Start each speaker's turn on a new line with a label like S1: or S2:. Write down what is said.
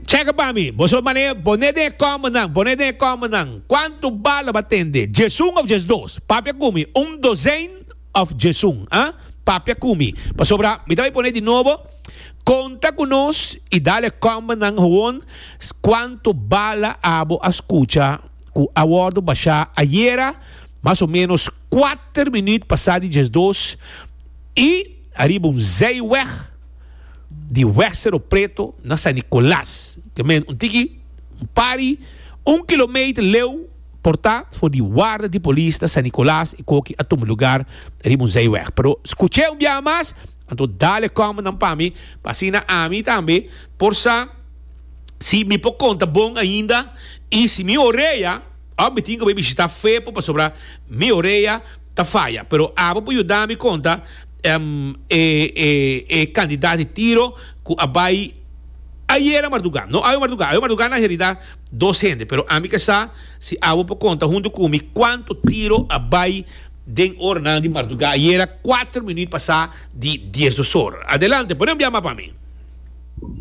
S1: Cheka pa mi, boso mane pone den e kòmbernan, pone den e kòmbernan, kuantu bala bo a tende? Djesun òf djesdos? Papia ku mi, un dozein òf djesun? Ah? Papia ku mi, pasobra mi ta bai pone di nobo, konta ku nos i dal e kòmbernan howon kuantu bala abo a skucha ku a wòrdu bashá ayera mas o ménos kuater minüt pasá di djesdos i ariba un zijweg. Di Weg Cerro Preto na San Nicolas, ke men un tiki un pari un kilometer leu por ta for di warda di polis na San Nicolas e koki a tuma lugar riba un zijweg. Pero skuch'é un biaha mas, anto dale kòmbernan pa mi pa asina ami tambe por sa si mi por konta bon ainda i si mi orea òf mi tin ku bai bishita Fepo pasobra mi orea ta faya. Pero abo por yuda mi konta. E e kandidat di tiro ku a bai ayera mardugá, no awe mardugá, awe mardugá na herida dos hende, pero ami ke sa si abo por konta huntu ku mi kuantu tiro a bai den oranan di mardugá ayera kuater minüt pasá di diesdos or. Adelante, pone un biaha mas pa mi.